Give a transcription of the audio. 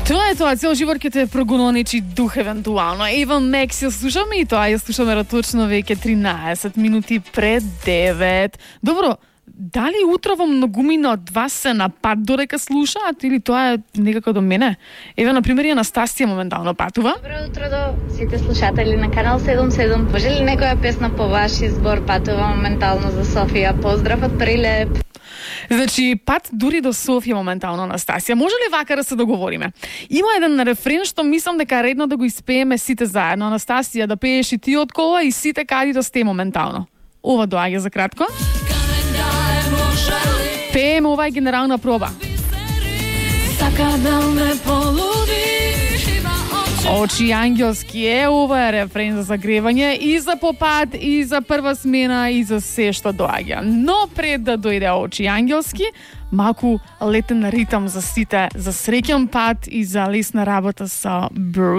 Тоа е тоа, цел живот ќе те прогоничи дух евентуално. Eva Max ја слушаме и тоа ја слушаме точно веќе 13 минути пред 9. Добро, дали утрово многумина од вас се на пат додека слушаат или тоа е некако до мене? Еве, например, Анастасија моментално патува. Добро утро до сите слушатели на Канал 77. Може ли некоја песна по ваш избор? Патува моментално за Софија. Поздрав од Прилеп. Значи, пат дури до Софија моментално, Анастасија. Може ли вака да се договориме? Има еден рефрен што мислам дека е редно да го испееме сите заедно. Анастасија, да пееш и ти од кола и сите кади да сте моментално. Ова доаѓа за кратко. Пееме, ова е генерална проба. Сака да ме полуди. Очи ангелски е, ова е рефрен за загревање и за попат, и за прва смена, и за се што доаѓа. Но пред да дојде очи ангелски, малку летен ритам за сите, за среќен пат и за лесна работа со Breathe.